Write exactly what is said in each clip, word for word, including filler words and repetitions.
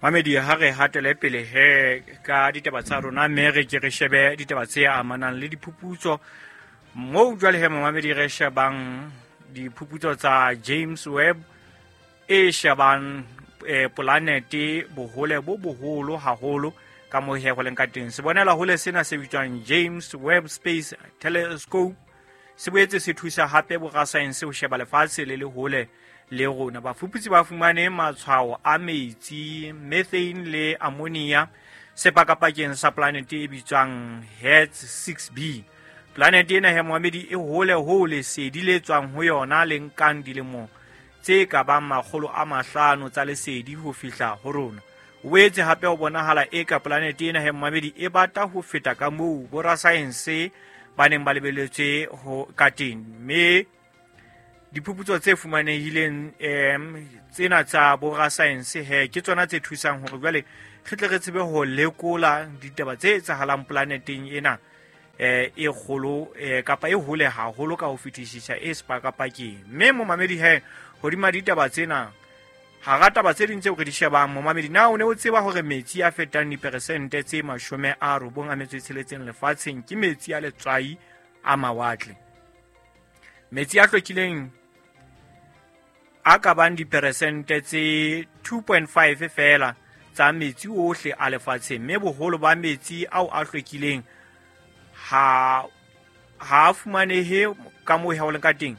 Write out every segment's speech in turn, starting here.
Mamedi, ha re hatele pele he ka ditaba tsa rona, mme re ke re shebe ditaba tse amanang le diphuputso. Moo jwale he momamedi re shebang diphuputso tsa James Webb e shebang eh, polanete bohole bo boholo haholo ka moo he go leng ka teng. Sebonela hole sena se bitswang James Webb Space Telescope se boetse se thusa hape borasaense ho sheba lefatshe le le hole le rona. Bafuputsi ba fumane matshwao a metsi, methane le ammonia sepakapakeng sa planete e bitswang Hertz six B. Planete ena he momamedi e hole ho lesedi le tswang ho yona le nkang dilemo tse ka bang makgolo a mahlano tsa lesedi ho fihla ho rona. O boetse hape ho bonahala eka planete ena he momamedi e bata ho feta ka moo borasaense ba neng ba lebeletse ho ka teng. Mme diphuputso tse fumanehileng em tsena tsa borasaense he ke tsona tse thusang hore jwale re tle re tsebe ho lekola ditaba tse etsahalang planeteng ena eh e kgolo eh, kapa e hole haholo ka ho fetisisa e sepakapakeng. Mme momamedi he hodima ditaba tsena, hara taba tse ding tseo re di shebang momamedi, na o ne o tseba hore metsi a fetang diperesente tse mashome a robong a metso e tsheletseng lefatsheng ke metsi a letswai a mawatle? Metsi a hlwekileng a ka bang diperesente tse two point five feela tsa metsi ohle a lefatsheng, mme boholo ba metsi ao a hlwekileng ha ha a fumanehe ka moo ho leng ka teng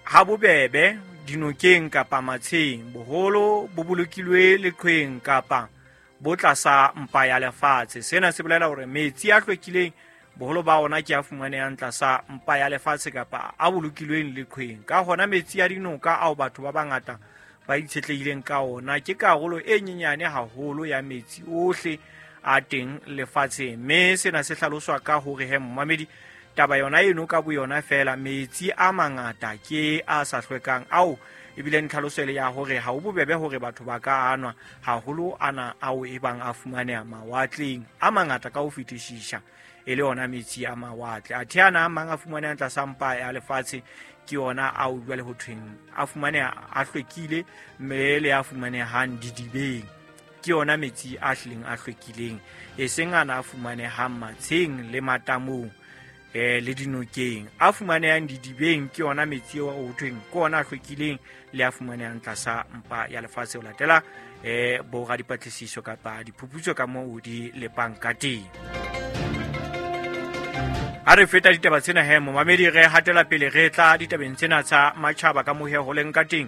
ha bobebe dinokeng kapa matsheng. Boholo bo bolokilwe leqhweng kapa bo tlasa mpa ya lefatshe. Sena se bolela hore metsi a hlwekileng boholo ba ona ke a fumanehang tlasa mpa ya lefatshe kapa a bolokilweng leqhweng. Ka hona metsi a dinoka ao batho ba bangata ba itshetlehileng ka ona ke karolo e nyenyane haholo ya metsi ohle a teng lefatsheng. Mme sena se hlaloswa ka hore he momamedi, taba yona eno ka boyona feela, metsi a mangata ke a sa hlwekang ao ebile ntlhaloso ele ya hore ha ho bobebe hore batho ba ka anwa haholo ana ao e bang a fumaneha mawatleng a mangata ka ho fetisisa e le ona metsi a mawatle. Athe ana a mang a fumanehang tlasa mpa ya lefatshe ke ona ao jwale ho thweng a fumaneha a hlwekile, mme le a fumanehang didibeng ke yona metsi a hlileng a hlwekileng, e seng ana a fumanehang matsheng le matamong eh le dinokeng. A fumanehang didibeng ke yona metsi ao ho thweng ke ona a hlwekileng le a fumanehang tlasa mpa ya lefatshe ho latela eh boradipatlisiso kapa diphuputso ka moo di lepang ka teng. Ha re feta ditaba tsena he momamedi, re hatela pele re tla ditabeng tsena tsa matjhaba ka moo he ho leng ka teng.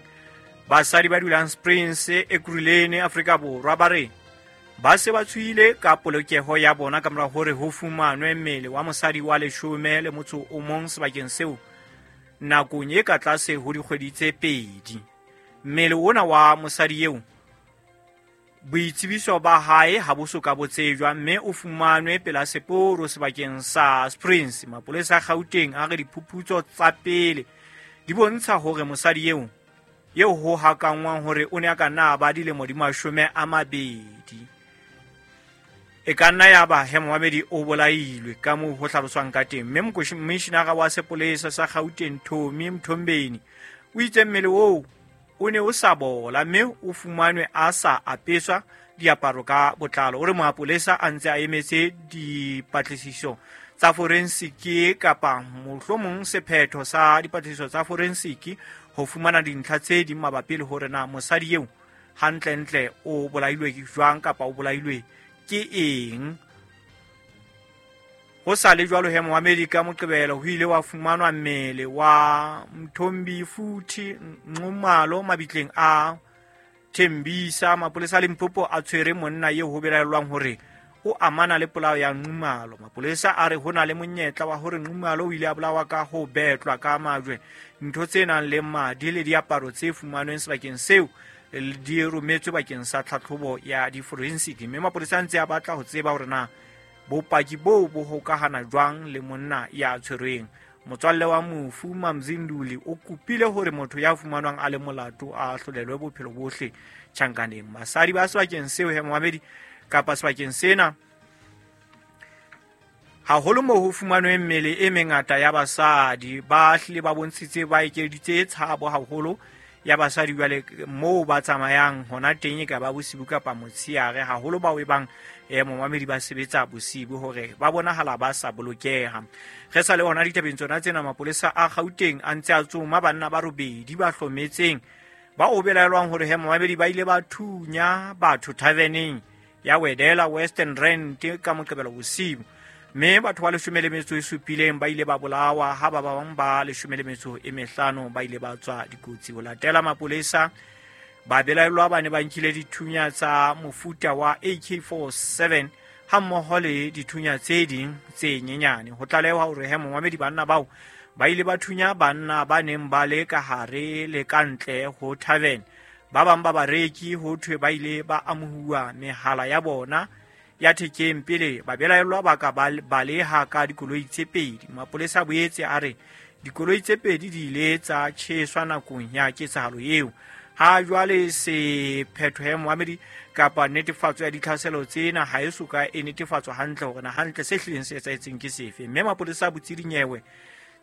Basadi ba dulang Springs Ekurhuleni Afrika Borwa ba re ba se ba tshohile ka polokeho ya bona ka mora hore ho fumanwe mmele wa mosadi wa leshome le motso o mong sebakeng seo nakong e ka tlase ho dikgwedi tse pedi. Mmele ona wa mosadi eo boitsebiso ba hae ha bo so ka bo tsejwa, mme o fumanwe pela seporo sebakeng sa Springs. Mapolesa a Gauteng a re diphuputso tsa pele di bontsha hore mosadi eo eo ho hakangwang hore o ne a ka nna ba dilemo di mashome a mabedi e ka nna ya ba he momamedi o bolailwe ka moo ho hlaloswang ka teng. Mme mokomishinara wa sepolesa sa Gauteng Tommy Mthombeni o itse mmele oo o ne o sa bola mme o fumanwe a sa apeswa diaparo ka botlalo. O re mapolesa a ntse a emetse dipatlisiso tsa forensiki kapa mohlomong sephetho sa dipatlisiso tsa forensiki ho fumana dintlha tse ding mabapi le hore na mosadi eo hantlentle o bolailwe jwang kapa o bolailwe ke eng. Ho sa le jwalo he momamedi, ka Moqebelo ho ile wa fumanwa mmele wa Mthombi Futhi Nxumalo mabitleng a Thembisa. Mapolesa a Limpopo a tshwere monna eo ho belaellwang hore o amana le polao ya Nxumalo. Mapolesa a re ho na le monyetla wa hore Nxumalo o ile a bolawa ka ho betlwa ka majwe. Ntho tse nang le madi le diaparo tse fumanweng sebakeng seo di rometswe bakeng sa tlhatlhobo ya di-forensic, mme mapolesa a ntse a batla ho tseba hore na bopaki boo bo hokahana jwang le monna ya tshwerweng. Motswalle wa mofu Mamzinduli o kopile hore motho ya fumanwang a le molato a ahlolelwe bophelo bohle tjhankaneng. Basadi ba sebakeng seo he momamedi kapa sebakeng sena haholo moo ho fumanweng mmele e mengata ya basadi ba hlile ba bontshitse ba ekeditse tshabo haholo ya basadi jwale moo ba tsamayang hona teng e ka ba bosibu kapa motshehare, haholo bao e bang eh momamedi ba sebetsa bosibu hore ba bonahala ba sa bolokeha. Re sa le hona ditabeng tsona tsena, mapolesa a Gauteng a ntse a tsoma banna ba robedi ba hlometseng ba o belaelwang hore he momamedi ba ile ba thunya batho taverneng ya Wedela Western Rand ka Moqebelo bosibu, mme batho ba leshome le metso e supileng ba ile ba bolawa ha ba bang ba leshome le metso e mehlano ba ile ba tswa dikotsi. Ho latela mapolesa, ba belaellwa ba ne ba nkile dithunya tsa mofuta wa A K forty-seven hammoho le dithunya tse ding tse nyenyane. Ho tlalewa hore he momamedi banna bao ba ile ba thunya banna ba neng ba le ka hare le ka ntle ho tavern. Ba bang ba bareki ho thwe ba ile ba amohuwa mehala ya bona ya thekeng pele ba belaellwa ba ka baleha ka dikoloi tse pedi. Mapolesa a boetse a re dikoloi tse pedi di ile tsa tjheswa nakong ya ketsahalo eo. Ha jwale sephetho ya momamedi kapa netefatso ya ditlhaselo tsena ha e soka e netefatswa hantle hore na hantle se hlileng se etsahetseng ke sefe. Mme mapolesa a botse dinyewe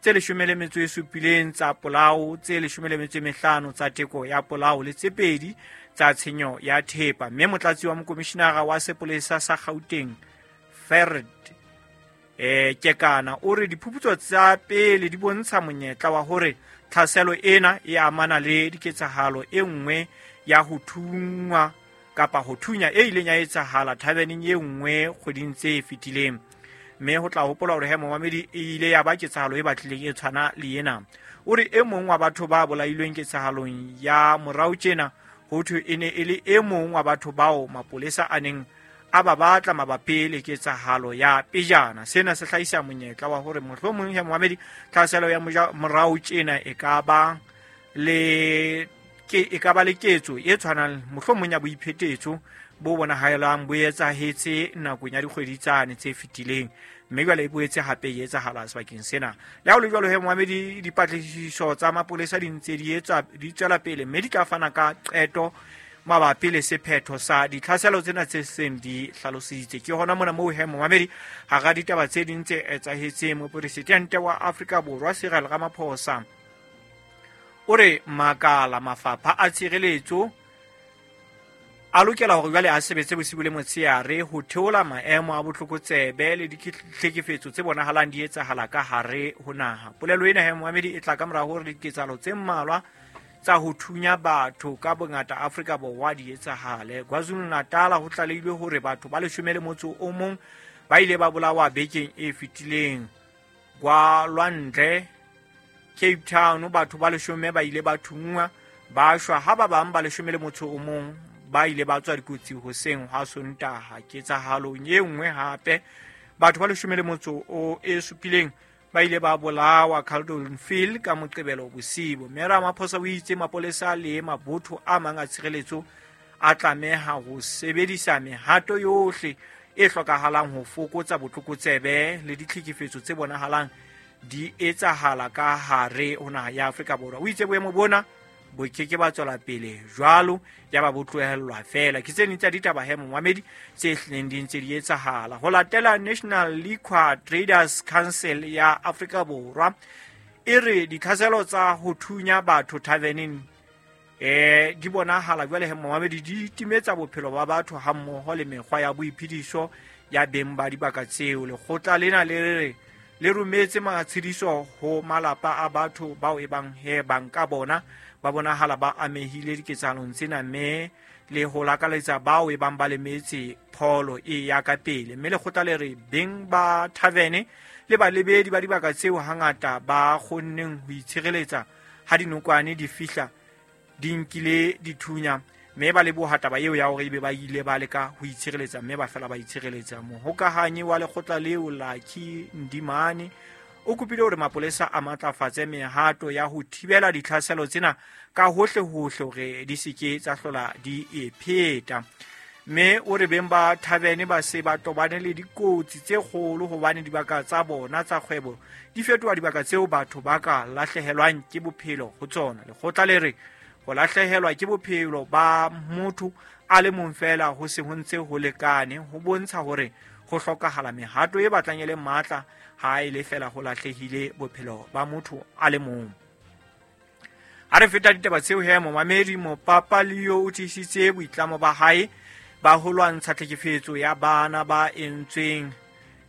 tse leshome le metso e supileng tsa polao, tse leshome le metso e mehlano tsa teko ya polao le tse pedi tsa tshenyo ya thepa. Mme motlatsi wa mokomishinara wa sepolesa sa Gauteng Ferd eh Kekana o re diphuputso tsa pele di bontsha monyetla wa hore tlhaselo ena e amana le diketsahalo e nngwe ya ho thungwa kapa ho thunya e ileng ya etsahala taverneng e nngwe kgweding tse fetileng. Mme ho tla hopola hore he momamedi e ile ya ba ketsahalo e batlileng e tshwana le ena. O re e mong wa batho ba bolailweng ketsahalong ya morao tjena ho thwe e ne e le e mong wa batho bao mapolesa a neng a ba batla mabapi le ketsahalo ya pejana. Sena se hlahisa monyetla wa hore mohlomong he momamedi tlhaselo ya morao tjena e ka ba le ke e ka ba le ketso e tshwanang mohlomong ya boiphetetso bo bonahalang bo etsahetse nakong ya dikgwedi tsane tse fetileng, mme jwale e boetse hape e etsahala sebakeng sena. Le ha ho le jwalo he momamedi, dipatlisiso tsa mapolesa di ntse di etswa di tswela pele, mme di tla fana ka qeto mabapi le sephetho sa ditlhaselo tsena tse seng di hlalositse. Ke hona mona moo he momamedi hara ditaba tse ding tse etsahetseng, mopresidente wa Afrika Borwa Cyril Ramaphosa o re makala mafapha a tshireletso a lokela hore jwale a sebetse bosibu le motshehare ho theola maemo a botlokotsebe le ditlhekefetso tse bonahalang di etsahala ka hare ho naha. Polelo ena he momamedi e tla ka mora hore diketsahalo tse mmalwa tsa ho thunya batho ka bongata Afrika Borwa di etsahale. KwaZulu-Natal ho tlalehilwe hore batho ba leshome le motso o mong ba ile ba bolawa bekeng e fetileng. Kwa Lwandle Cape Town batho ba leshome ba ile ba thunngwa ba shwa, ha ba bang ba leshome le motso o mong ba ile ba tswa dikotsi hoseng ha Sontaha. Ketsahalong e nngwe hape batho ba leshome le motso o e supileng ba ile ba bolawa Caldonfield ka Moqebelo bosibu. Mme Ramaphosa o itse mapolesa le mabotho a mang a tshireletso a tlameha ho sebedisa mehato yohle e hlokahalang ho fokotsa botlokotsebe le ditlhekefetso tse bonahalang di etsahala ka hare ho naha ya Afrika Borwa. O itse boemo bona bo ke ke ba tswela pele jwalo ya ba bo tlohellwa fela. Ke tse ding tsa ditaba he momamedi tse hlileng di ntse di etsahala. Ho latela National Liquor Traders Council ya Afrika Borwa e re ditlhaselo tsa ho thunya batho taverneng eh di bonahala jwale he momamedi di timetsa bophelo ba batho hammoho le mekgwa ya boiphediso ya beng ba dibaka tseo. Lekgotla lena le re le rometse matshediso ho malapa a batho bao e bang he banka bona ba bonahala ba amehile diketsahalong tsena, mme le ho lakaletsa bao e bang ba lemetse pholo e ya ka pele. Mme lekgotla le re beng ba taverne le balebedi ba dibaka tseo hangata ba kgonneng ho itshireletsa ha dinokwane di fihla di nkile dithunya, mme ba leboha taba eo ya hore ebe ba ile ba leka ho itshireletsa mme ba fela ba itshireletsa. Mohokahanyi wa lekgotla leo Lucky Ndimane o kopile hore mapolesa a matlafatse mehato ya ho thibela ditlhaselo tsena ka hohle hohle hore di se ke tsa hlola di e pheta. Mme o re beng ba taverne ba se ba tobane le dikotsi tse kgolo hobane dibaka tsa bona tsa kgwebo di fetoha dibaka tseo batho ba ka lahlehelwang ke bophelo ho tsona. Lekgotla le re ho lahlehelwa ke bophelo ba motho a le mong fela ho se ho ntse ho lekane ho bontsha hore ho hlokahala mehato e batlang e le matla ha e le fela ho lahlehile bophelo ba motho a le mong. Ha re feta ditaba tseo he momamedi, Mopapa Leo o tiisitse boitlamo ba hae ba ho lwantsha tlhekefetso ya bana ba entsweng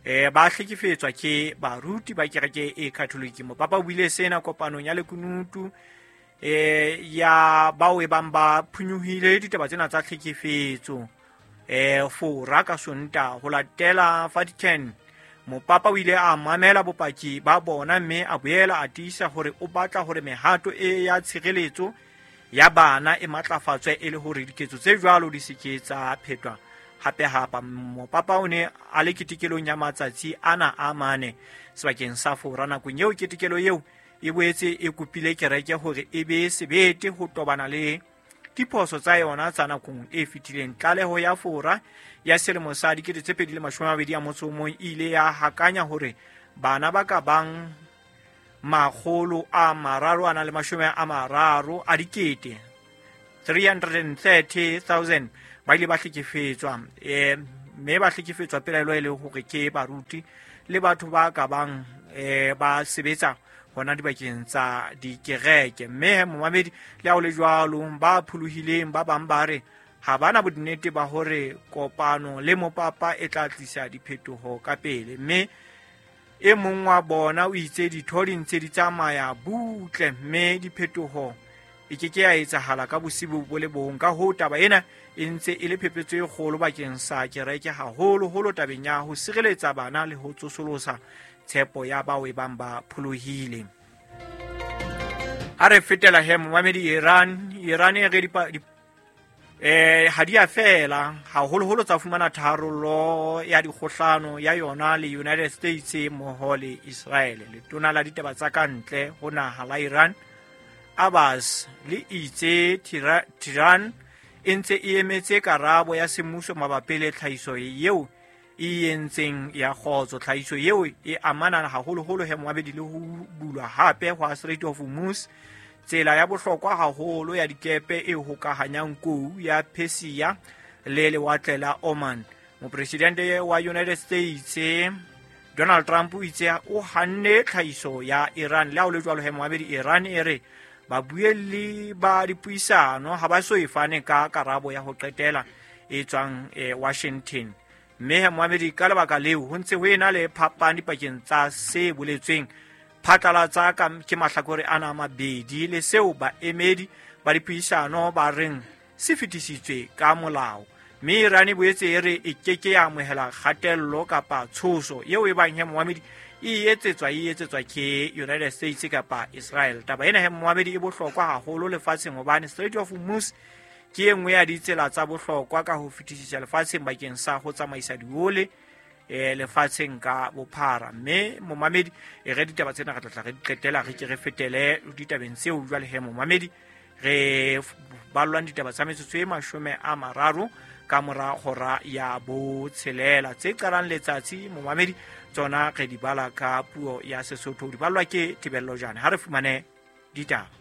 eh ba hlekefetswa ke baruti ba kereke e Catholic. Mopapa o buile sena kopanong ya lekunutu eh ya bao e bang ba phunyohile ditaba tsena tsa tlhekefetso eh Fora ka Sontaha. Ho latela Vatican, Mopapa o ile a mamela bopaki ba bona mme a boela a tiisa hore o batla hore mehato e ya tshireletso ya bana e matlafatswe e le hore diketso tse jwalo di se ke tsa phetwa hape hape. Mopapa o ne a le ketekelong ya matsatsi ana a mane sebakeng sa Fora. Nakong eo ketekelo eo e boetse e kopile kereke hore e be sebete ho tobana le diphoso tsa yona tsa nakong e fetileng. Tlaleho ya Fora ya selemo sa dikete tse pedi le mashome a mabedi a motso o mong e ile ya hakanya hore bana ba ka bang makgolo a mararo a nang le mashome a mararo a dikete three hundred thirty thousand ba ile ba hlekefetswa, eh mme ba hlekefetswa pelaelo e le hore ke baruti le batho ba ka bang eh ba sebetsa hona dibakeng tsa dikereke. Mme momamedi, le ha ho le jwalo, ba pholohileng ba bang ba re ha bana bonnete ba hore kopano le mopapa e tla tlisa diphetoho ka pele. Mme e mong wa bona o itse ditho di ntse di tsamaya butle mme diphetoho e ke ke ya etsahala ka bosibu bo le bong. Ka hoo taba ena e ntse e le phephetso e kgolo bakeng sa kereke, haholoholo tabeng ya ho sireletsa bana le ho tsosolosa tshepo ya bao e bang ba pholohile. Ha re fetela he momamedi, Iran Iran e re dipa eh ha di a fela haholoholo tsa fumana tharollo ya dikgohlano ya yona le United States mmoho le Israel. Letona la ditaba tsa kantle ho naha la Iran Abbas le itse Tehran e ntse e emetse karabo ya semmuso mabapi le tlhahiso eo e entseng ya kgotso. Tlhahiso eo e amana haholoholo he momamedi le ho bulwa hape hwa Strait of Hormuz, tsela ya bohlokwa haholo ya dikepe e hokahanyang kou ya Persia le lewatle la Oman. Mopresidente wa United States Donald Trump o itse o hanne tlhahiso ya Iran. Le ha ho le jwalo he momamedi, Iran e re babuelli ba dipuisano ha ba so e fane ka karabo ya ho qetela e tswang eh, Washington. Mme he momamedi, ka lebaka leo ho ntse ho ena le phapang dipakeng tsa se boletsweng phatlalatsa ka ke mahlakore ana a mabedi le seo baemedi ba dipuisano ba reng se fetisitswe ka molao. Mme Iran e boetse e re e ke ke ya amohela kgatello kapa tshoso eo e bang he momamedi e etsetswa e etsetswa ke United States kapa Israel. Taba ena he momamedi e bohlokwa haholo lefatsheng hobane Strait of Hormuz ke e nngwe ya ditsela tsa bohlokwa ka ho fetisisa lefatsheng bakeng sa ho tsamaisa diole eh lefatsheng ka bophara. Mme momamedi, e re ditaba tsena re tla tla re di qetela, re ke re fetele ditabeng tseo jwale he momamedi re ballwang ditaba tsa metsotso e mashome a mararo ka mora hora ya botshelela tse qalang letsatsi momamedi, tsona re di bala ka puo ya Sesotho, di ballwa ke Tebello Jane. Ha re fumane ditaba.